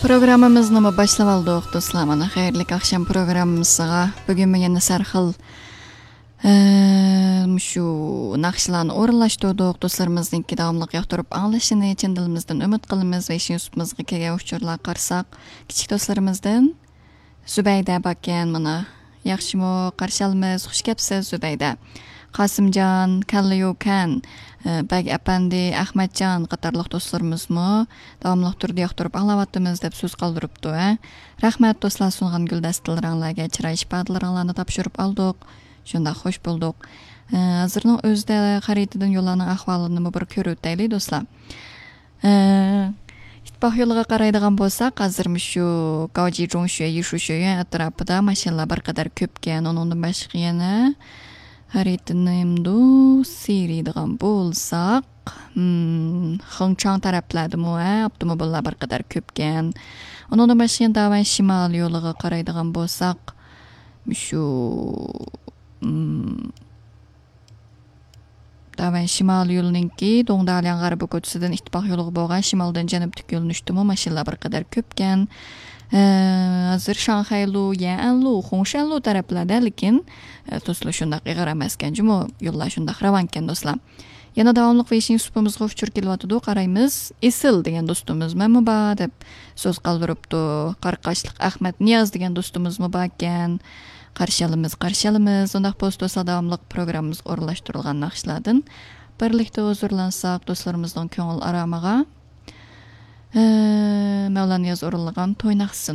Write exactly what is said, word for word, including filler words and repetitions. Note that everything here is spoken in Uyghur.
پروگراممىمىزنىمۇ باشلاپ ئالدۇق، دوستلار. مانا، خەيرلىك ئاخشام پروگراممىسىغا بۈگۈنمۇ يەنە سەرخىل، ئە، مۇشۇ ناخشىلارنى ئورۇنلاشتۇردۇق. دوستلىرىمىزنىڭكى داۋاملىق ياقتۇرۇپ ئاڭلىشىنى چىن دىلىمىزدىن ئۈمىد قىلىمىز ۋە ئىشىڭ يۈسۈپىمىزغا كەلگەن ئۇچۇرلارغا قارىساق، كىچىك دوستلىرىمىزدىن زۇبەيدە باركەن، مانا. ياخشىمۇ؟ قارشى ئالىمىز. خۇش كەپسىز، زۇبەيدە. قاسىمجان، كاللىيۇكەن، ئە، بەگ ئەپەندى، ئەخمەتجان قاتارلىق دوستلىرىمىزمۇ داۋاملىق تۈردە ياقتۇرۇپ ئاڭلاۋاتىمىز دەپ سۆز قالدۇرۇپتۇ، ھە. رەھمەت، دوستلار، سۇنغان گۈلدەستىلىرىڭلارغا، چىراي ئىپادىلىرىڭلارنى تاپشۇرۇپ ئالدۇق. شۇنداق خۇش بولدۇق. ئە، ھازىرنىڭ ئۆزىدە خەرىتىدىن يوللارنىڭ ئەھۋالىنىمۇ بىر كۆرۈۋېتەيلى، دوستلار. ئە، ئىتتىپاق يولىغا قارايدىغان بولساق، ھازىر مۇشۇ گاۋجى جۇڭشۈ، يىشۇشۈيۈەن ئەتراپىدا ماشىنىلار بىر قەدەر كۆپكەن. ئۇنىڭدىن باشقا يەنە خەرىتىنىمدۇ سىرىدىغان بولساق، ھىم، خېڭچاڭ تەرەپلەردىمۇ، ھە، ئاپتوموبىللار بىر قەدەر كۆپكەن. ئۇنىڭدىن باشقا يەنە داۋەن شىمال يولىغا قارايدىغان بولساق، مۇشۇ، ھىم، داۋەن شىمال يولىنىڭكى دوڭدالياڭ غەربىي كوچىسىدىن ئىتتىپاق يولىغا بولغان شىمالدىن جەنۇبتىكى يۆنىلىشتىمۇ ماشىنىلار بىر قەدەر كۆپكەن. ئە، ھازىر شاڭخەيلۇ، يەنئەنلۇ، خۇڭشەنلۇ تەرەپلەردە، لېكىن، ئە، توسۇلۇش شۇنداق ئېغىر ئەمەسكەن جۇمۇ. يوللار شۇنداق راۋانكەن، دوستلار. يەنە داۋاملىق ۋېيشىن سۇپىمىزغا ئۇچۇر كېلىۋاتىدۇ، قارايمىز. ئېسىل دېگەن دوستىمىز مەنمۇ بار دەپ سۆز قالدۇرۇپتۇ. قاراقاشلىق ئەخمەت نىياز دېگەن دوستىمىزمۇ باركەن. قارشى ئالىمىز، قارشى ئالىمىز. ئۇنداق بولسا، دوستلار، داۋاملىق پروگراممىمىزغا ئورۇنلاشتۇرۇلغان ناخشىلاردىن بىرلىكتە ھۇزۇرلانساق، دوستلىرىمىزنىڭ كۆڭۈل ئارامىغا، ئە، مەۋلان نىياز ئورۇنلىغان توي ناخشىسىنى